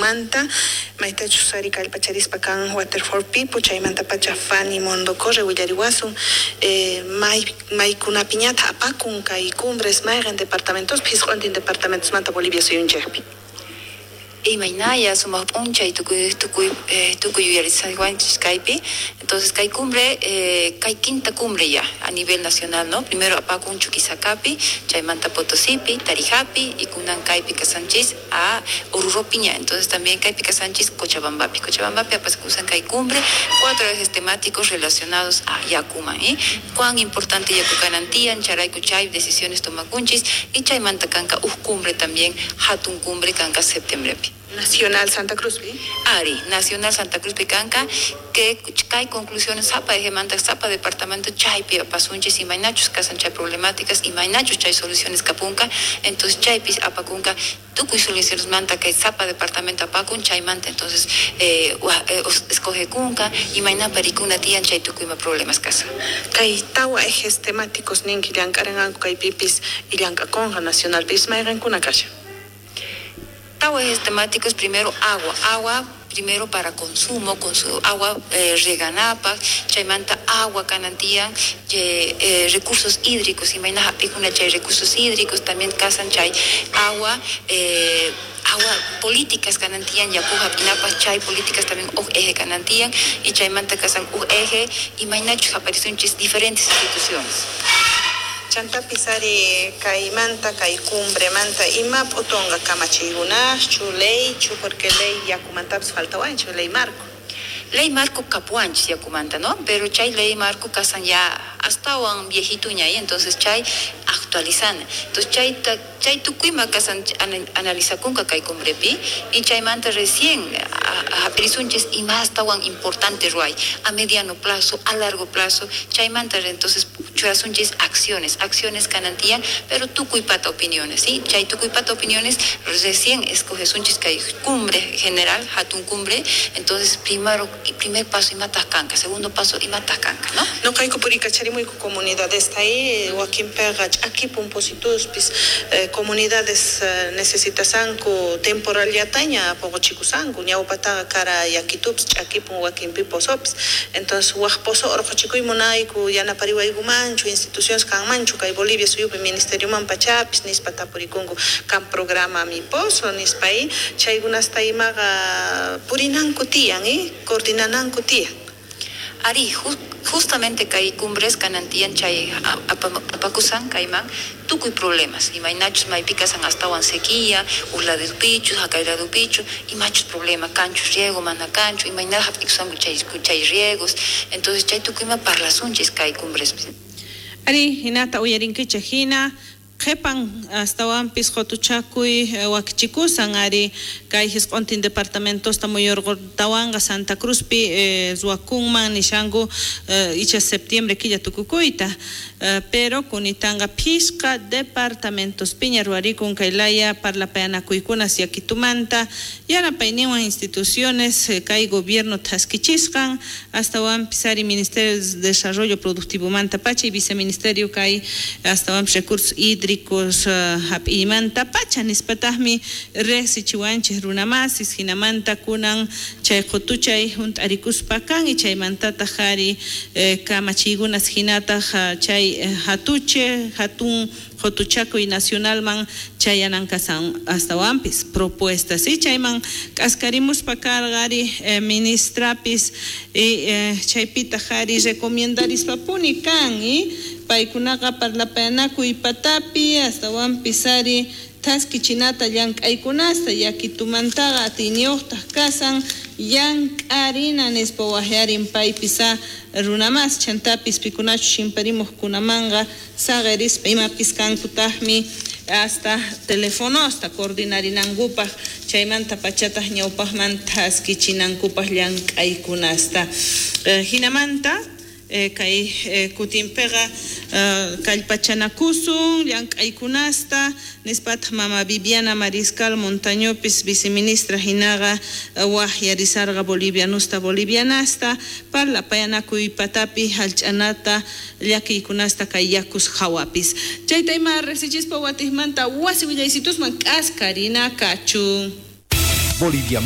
Manta, maytachus ari kallpacharispa kan Water for People, chaymantapacha Fanny Mondocorre willariwasun maykunapiñata apakun kay cumbres mayqen departamentos phisq'untin departamentosmanta Bolivia suyunchikpi. Imaynaya sumaq p'unchay tukuy tukuy tukuy yuyarisqanchis kaypi. Entonces kay cumbre kay quinta cumbre ya a nivel nacional, ¿no? Primero apakun Chuquisacapi, chaymanta Potosipi, Tarijapi y kunan kaypi kasanchis a Oruropiña. Entonces también kaypi kasanchis Cochabambapi. Cochabambapi apakusan kay cumbre, 4 ejes temáticos relacionados a yakuman, ¿eh? Cuán importante yaku kanan tiyan, chayrayku chay decisiones tomakunchis y chaymanta kanka uj cumbre también, hatun cumbre kanka septiembrepi. Nacional Santa Cruz, ¿sí? Ari, Nacional Santa Cruz Picanca, que hay conclusiones, zapa de manta, zapa departamento, chaypi, apasunchis y mainachos, casan chay problemáticas y mainachos chay soluciones capunca, entonces chaypis apacunca, tucuy soluciones manta, que zapa departamento apacun, chay manta, entonces escoge cunca y maina paricuna tian chay tucuyma problemas casa. Kay tawa ejes temáticos ninki llankarenganku kay pipis y llankaconja nacional pis mayrenkuna kasha. Tawa ejes temáticos, primero agua, agua primero para consumo, con su agua reganapa, chaymanta agua canantían, recursos hídricos, imayna hapikuna chay recursos hídricos, también casan chay agua, agua políticas canantían, yaku hapinapa chay políticas también uj eje canantían, y chaymanta casan uj eje, imaynachus apariciones diferentes instituciones. Chantapis ari kaymanta, kay cumbremanta, ima p'utunqa kamachiykunaschu, leychu, porque ley yakumantapis faltawanchu, ley marco. Ley marco kapuanchis yakumanta, ¿no? Pero chay ley marco kasan ya astawan viejituña, y entonces chay actualizana. Entonces chay tukuyma kasan analizakunka kay cumbrepi, y chaymanta recién hapirisunchis y más astawan importante ruay, a mediano plazo, a largo plazo, chaymanta entonces churasunchis acciones, acciones canantían, pero tukuypata opiniones, ¿sí? Chay tukuypata opiniones recién escogesunchis kay cumbre general, hatun cumbre, entonces primer paso y matas canca, segundo paso y matas canca, ¿no? No caigo por icacharimuico comunidades está ahí, Joaquín Pegach, aquí pumposituspis, comunidades necesitasanco temporal yataña, poco chicusanco, ñaupataga cara yaquitups, chakipun Joaquín piposops, entonces huajposo orco chicuy monaico, yanaparihuaygu mancho, instituciones can mancho, kay Bolivia suyupi ministerio mampachapis, nispa tapuricungo, can programa mi pozo, nispa ahí, chaygunasta imaga purinanco tian, coordinananku tía. Ari, justamente kay cumbres kanantian chay apakusan kayman tukuy problemas. Imaynachus maypikasan astawan sequía, urladupichus, hakayladupichu, imachus problema, canchus riego, mana canchu, imayna hap'ikusanku chay riegos. Entonces chay tukuyma parlasunchis kay cumbres. Ari, hinata uyarinkicha hina, qhepan astawanpis qotuchakuy wakichikusan ari kay hisq'untin departamentosta muyurqutawanqa Santa Cruzpi ruwakunman nishanku icha septiembre killa tukukuyta, pero kunitanqa phisqa departamentos piña ruwarikun kay laya parlapayanakuykunas yakitumanta yanapayninwan instituciones kay gobierno thaskichisqan astawanpis ari Ministerio de Desarrollo Productivomanta pacha y viceministerio kay astawanpis recursos hídricos hap'imanta pacha nispataqmi riqsichiwanchis runamasis hinamanta kunan chay qutuchay hunt'arikuspa kan y chaymantataq ari kamachiykunas hinataq chay hatuche hatun qutuchakuy nacionalman chayanankasan astawanpis propuestas y chayman k'askarimuspa karqa ari ministrapis y chaypitaq ari recomendaриspapuni kan y paykunaqa parlapayanakuy patapi astawanpis ari thaskichinata llank'aykunasta yakitumantaqa atiyniyuqtaq kasan llank'arina nispa waqyarin paypis runamas chantapis pikunachus chimparimuqkunamanqa saqerispa imapis kankutaqmi hasta telefonosta coordinarinankupaq chaymanta pachataq ñawpaqman thaskichinankupaq llank'aykunasta hinamanta kay kutinpiqa kallpachanakusun llank'aykunasta nispataq mama Viviana Mariscal Montañopis viceministra hinaqa waqyarisarqa bolivianusta bolivianasta parlapayanakuy patapi hallch'anata llakiykunasta kay yakus hawapis chayta ima riqsichispa watiqmanta wasi willaysitusman k'askarina kachun. Bolivia.